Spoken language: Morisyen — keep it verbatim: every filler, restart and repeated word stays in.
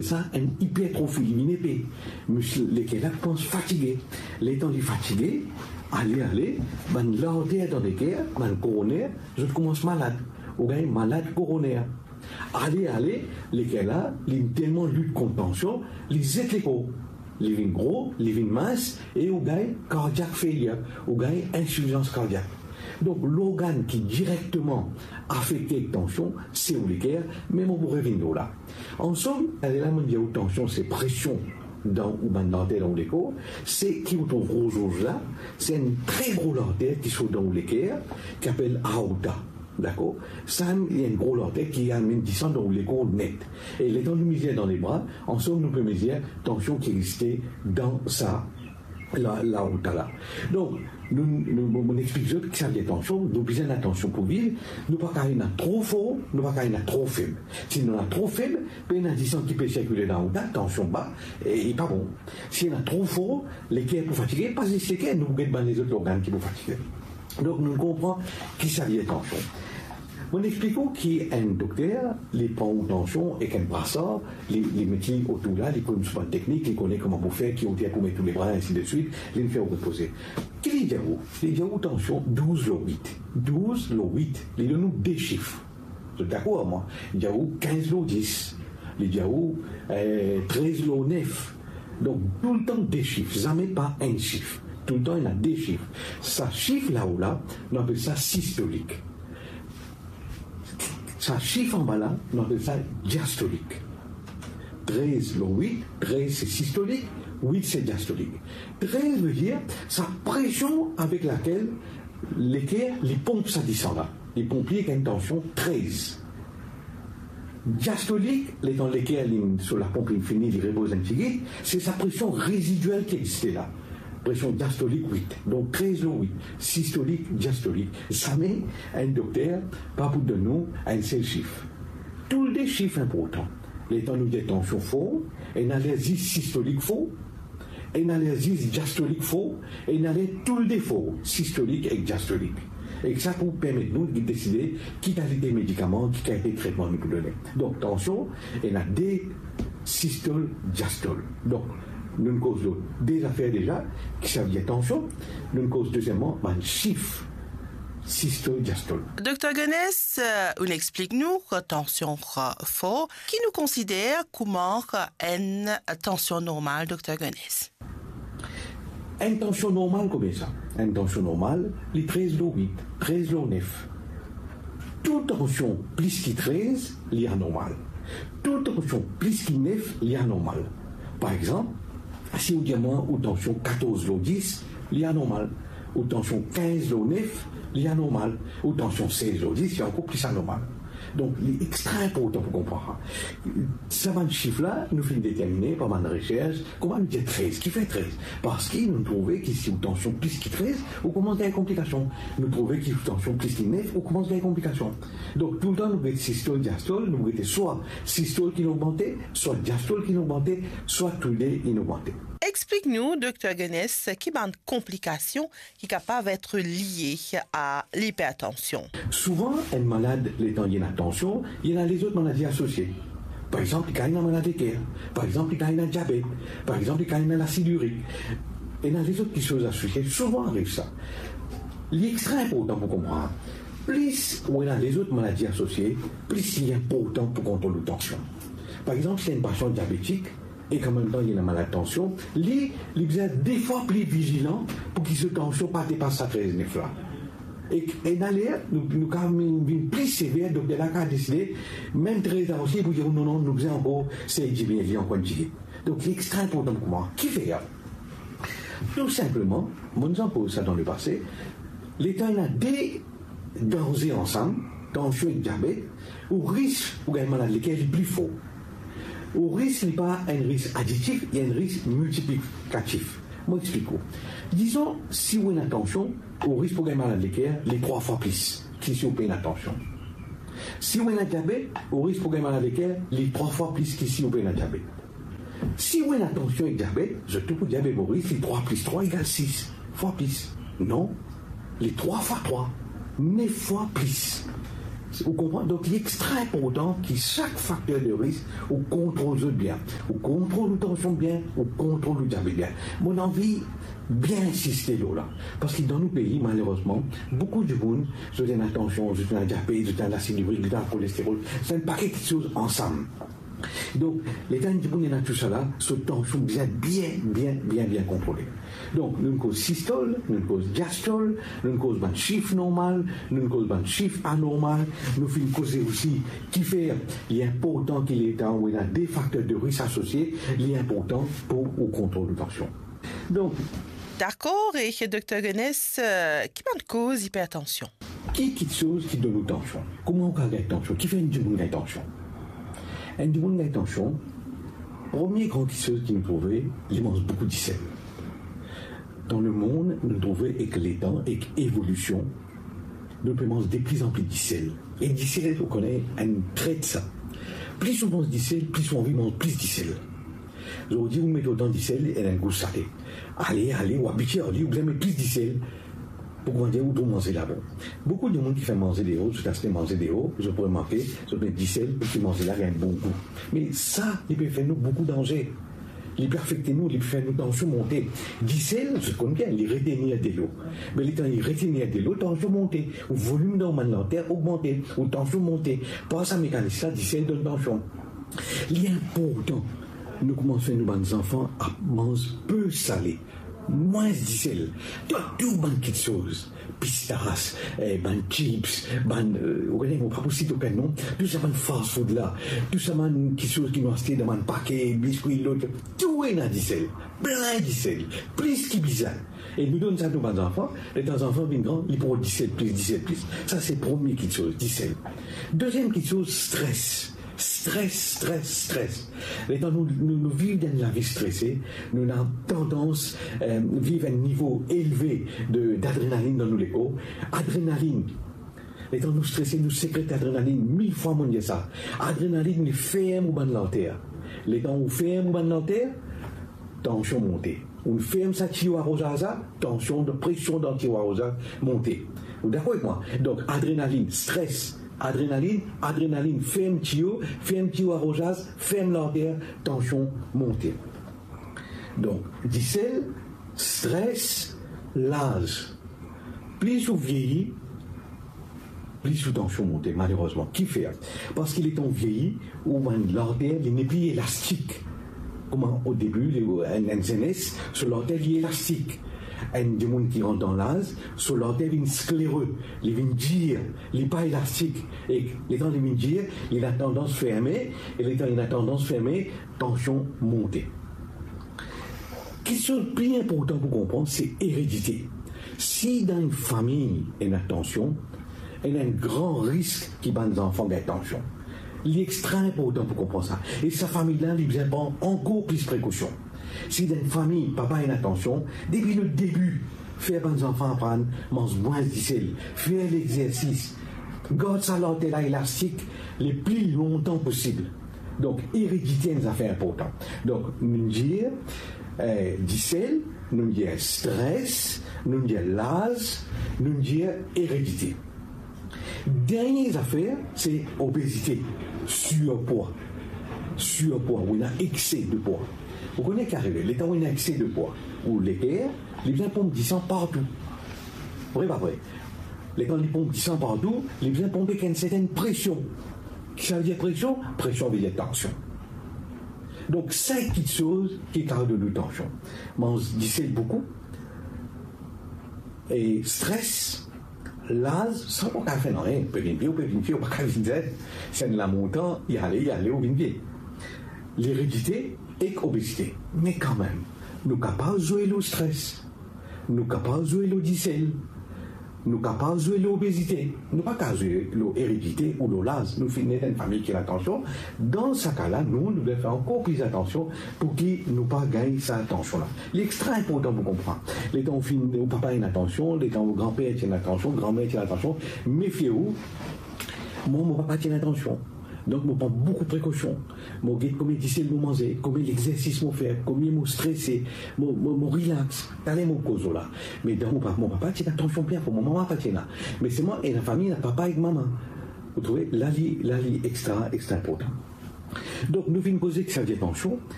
Sa enn ipertrofi, li vinn epe. Misie leker la koumans fatige. Letan li fatige, ale, ale, bann larter dan leker, bann koroner, zot koumans malad. Ou gagn malad koroner. Ale, ale, leker la, li telman lit kont tansion, li zet lekor. Li vinn gro, li vinn mins, e ou gagn cardiac failure, ou gagn insifizans kardiak. Donk, lorgann ki direkteman afekte ek tansion, se ou leker, me mo pou revinn lor la. Ansom, lerla mo dir ou tansion, se presion dan ou bann larter dan ou lekor, se ki ou trouv rouz rouz la, se enn tre gro larter ki sort dan ou leker, ki apel aorta. Dakor? Sa, li enn gro larter ki amenn disan dan ou lekor net. E letan nou mezir dan lebra, ansom nou pe mezir tansion ki existe dan sa, la, laorta la. Donk, nou, nou, mo, mo explik zot ki sa vinn tansion, nou bizin ena tansion pou viv, nou pa kav ena tro for, nou pa kav ena tro feb. Si nou ena tro feb, pena disan ki pe sirkile dan laorta, tansion ba, e, e pa bon. Si ena tro for, leker pou fatige, pa zis leker, nou pou get bann lezot lorgann ki pou fatige. Donk, nou konpran ki sa vinn tansion. Mo explik ou ki enn dokter, li pran ou tansion ek enn brasar, li, li met li otour la, li koz so bann teknik, li kone kouma pou fer, ki oter pou met ou lebra, ensi de swit, li fer ou repoze. Ki li dir ou? Li dir ou tansion douz lor wit. Douz lor wit. Li donn ou de sif. Zot dakor ar mwa? Li dir ou kinz lor dis. Li dir ou, eh, trez lor nef. Donk, toultan de sif, zame pa enn sif. Toultan ena de sif. Sa sif lao la, nou apel sa sistolik. Sa sif anba la, nou apel sa diastolik. Trez lor wit, trez se sistolik, wit se diastolik. Trez vedir sa presion avek lakel leker li ponp sa disan la. Li ponp li ek enn tansion trez. Diastolik, letan leker li, so laponp li fini, li repoz enn tigit, se sa presion rezidiel ki existe la. Presion diastolik wit. Donk trez lor wit, sistolik, diastolik. Zame enn dokter pa pou donn nou enn sel sif. Toulde sif inportan. Letan nou dir tansion for, ena ler zis sistolik for, ena ler zis diastolik for, ena ler toulde for, sistolik ek diastolik. Ek sa pou permet nou deside ki kalite medikaman, ki kalite tretman nou pou done. Donk, tansion, ena de sistol, diastol. Donk, nou koz lor de zafer deza, ki sa vinn tansion, nou koz dezieman, bann sif, sistol, diastol. Dokter Gones, euh, ou explik nou ki tansion, euh, for, ki nou konsider kouma enn tansion normal, Dokter Gones? Enn tansion normal kouma sa. Enn tansion normal, li trez lor wit, trez lor nef. Tou tansion plis ki trez, li anormal. Tou tansion plis ki nef, li anormal. Par exanp, si ou dir mwa ou tansion katorz lor dis, li anormal. Ou tansion kinz lor nef, li anormal. Ou tansion sez lor dis, li ankor plis anormal. Donk, li extra inportan pou konpran sa. Sa bann sif la, nou finn determine par bann resers, kouma nou dir trez, kifer trez? Parski nou trouve ki si ou tansion plis ki trez, ou koumans gagn konplikasion. Nou trouve ki si ou tansion plis ki nef, ou koumans gagn konplikasion. Donk, toultan nou get sistol, diastol, nou gete swa sistol ki ogmante, swa diastol ki ogmante, swa toulde inn ogmante. Explik nou, Dokter Gones, ki bann konplikasion ki kapav et lie a lipertansion. Souvan, enn malad, letan li ena tansion, li ena lezot maladi asosie. Par exanp, li kav ena maladi ker. Par exanp, li kav ena diabet. Par exanp, li kav ena lasid irik. Ena lezot kiksoz asosie, souvan ariv sa. Li extra inportan pou konpran, plis ou ena lezot maladi asosie, plis li inportan pou kontrol ou tansion. Par exanp, si enn pasian diabetik, ek anmemtan li ena malad tansion, li, li bizin de fwa pli vizilan pou ki so tansion pa depas sa trez nef la. Ek ena ler, nou, nou kav vinn, vinn pli sever, dokter la kav deside, mem trez la osi, pou dir, non, non, nou bizin ankor sey diminie li ankor enn tigit. Donk, li extra inportan pou kouma. Kifer? Tou sinpleman, mo'nn poz sa dan lepase, letan ena de danze ansam, tansion ek diabet, ou risk pou gagn maladi leker li pli for. Ou risk li pa enn risk aditif, li enn risk miltiplikatif. Mo explik ou. Dizon, si ou ena tansion, ou risk pou gagn maladi leker li trwa fwa plis ki si ou pena tansion. Si ou ena diabet, ou risk pou gagn maladi leker li trwa fwa plis ki si ou pena diabet. Si ou ena tansion ek diabet, zot tou pou dir, be Moris, li trwa plis trwa egal sis fwa plis. Non, li trwa fwa trwa, nef fwa plis. Ou konpran? Donk, li extra inportan ki sak fakter de risk, ou kontrol zot bien. Ou kontrol ou tansion bien, ou kontrol ou diabet bien. Mo anvi bien insiste lor la. Parski dan nou pei, malerezman, boukou dimoun, zot ena tansion, zot ena diabet, zot ena lasid irik, zot ena kolesterol, zot ena enn pake kiksoz ansam. Donk, letan enn dimoun ena tousala, so tansion bizin bien, bien, bien, bien kontrole. Donk, nou koz sistol, nou koz diastol, nou koz bann sif normal, nou koz bann sif anormal, nou finn koze osi kifer li inportan ki letan ou ena de fakter de risk asosie, li inportan pou ou kontrol ou tansion. Donk, dakor, e Dokter Gones, eh, ki bann koz ipertansion? Ki kiksoz ki donn ou tansion? Kouma ou kapav gagn tansion? Kifer enn dimoun gagn tansion? Enn dimoun gagn tansion, premie gran kiksoz ki nou trouve, li manz boukou disel. Dan lemond, nou trouve ek letan, ek evolision, nou pe manz deplizanpli disel. E disel, ou kone, enn tret sa. Plis ou manz disel, plis ou anvi manz plis disel. Zordi ou met otan disel, ena enn gou sale. Ale, ale, ou abitie ar li, ou bizin met plis disel. Pou kouma dir, ou trouv manze la bon. Boukou dimoun ki fer manze deor, zot aste manze deor, zot pou remarke, zot met disel pou ki manze la gagn bon gou. Me sa, li pe fer nou boukou danze. Li pe afekte nou, li pe fer nou tansion monte. Disel, zot konn bien, li retenir delo. Me letan li retenir delo, tansion monte. Ou volim dan bann larter ogmante, ou tansion monte. Par sa mekanis la, disel donn tansion. Li inportan nou koumans fer nou bann zanfan ap manz pe sale, mwins disel, dan tou bann kiksoz, pistas, eh, bann chips, bann, eh, ou kone, mo pa pou sit okenn non, tou sa bann fast food la, tou sa bann kiksoz ki nou aste dan bann pake, biskwi, lot, tou ena disel, plin disel, plis ki bizin. E nou donn sa nou bann zanfan, letan zanfan vinn gran, li pran disel plis, disel plis. Sa se premie kiksoz, disel. Deziem kiksoz, stres. Stres, stres, stres. Letan nou, nou, nou viv dan enn lavi strese, nou ena tandans, eh, viv enn nivo elve de, dadrenalinn dan nou lekor. Adrenalinn. Letan nou strese, nou sekret adrenalinn. Mil fwa mo dir sa. Adrenalinn, li ferm ou bann larter. Letan ou ferm ou bann larter, tansion monte. Ou ferm sa tiyo aroz la, tansion, presion dan tiyo aroz la monte. Ou dakor ek mwa? Donk, adrenalinn, stres, adrenalinn, adrenalinn, ferm tiyo, ferm tiyo aroz la, ferm larter, tansion monte. Donk, disel, stres, laz. Plis ou vieyi, plis ou tansion monte, malerezman. Kifer? Parski letan ou vieyi, ou bann larter, li nepli elastik. Kouma o debi, li, enn, enn zenes, so larter li elastik. Enn dimoun ki rant dan laz, so larter vinn sklere, li vinn dir, li pa elastik. E letan li vinn dir, li ena tandans ferme, e letan li ena tandans ferme, tansion monte. Kiksoz pli inportan pou konpran, se eredite. Si dan enn fami ena tansion, ena enn gran risk ki bann zanfan gagn tansion. Li extra inportan pou konpran sa. E sa fami la, li bizin pran ankor plis prekosion. Si dan enn fami, papa ena tansion, depi le debi, fer bann zanfan aprann manz mwins disel, fer lexersis, gard sa larter la elastik le pli lontan posib. Donk, eredite enn zafer inportan. Donk, nou dir, eh, disel, nou dir stres, nou dir laz, nou dir eredite. Dernie zafer, se obezite, sirpwa. Sirpwa, ou ena ekse de pwa. Ou kone ki arive, letan ou ena ekse de pwa, ou leker, li bizin ponp disan partou. Vre pa vre? Letan li ponp disan partou, li bizin ponp ek enn sertenn presion. Ki sa ve dir presion? Presion ve dir tansion. Donk, sink kiksoz ki kapav donn nou tansion. Manz disel boukou, e stres, laz, sa ou pa kapav fer nanye, ou pe vinn vie, ou pe vinn vie, ou pa kapav vinn zenn. Si enn lamontan, li ale, li ale, ou vinn vie. Leredite ek obezite. Me kanmem, nou kapav zwe lor stres. Nou kapav zwe lor disel. Nou kapav zwe lor obezite. Nou pa kapav zwe lor eredite ou lor laz. Nou finn ena enn fami ki ena tansion. Dan sa ka la, nou, nou bizin fer ankor plis atansion pou ki nou pa gagn sa tansion la. Li extra inportan pou konpran. Letan ou finn, ou papa ena tansion, letan ou granper ti ena tansion, granmer ti ena tansion, mefie ou, mwa, mo papa ti ena tansion. Donk, mo pran boukou prekosion. Mo get konbien disel mo manze, konbien lexersis mo fer, konbien mo strese, mo, mo, mo relax. Taler mo koz la. Me dan mo pa-, mo papa ti ena tansion bien, mo mama pa ti ena. Me selman, ena fami, ena papa ek mama. Ou trouve, la li, la li extra, extra inportan. Donk, nou finn koze ki sa dir tansion,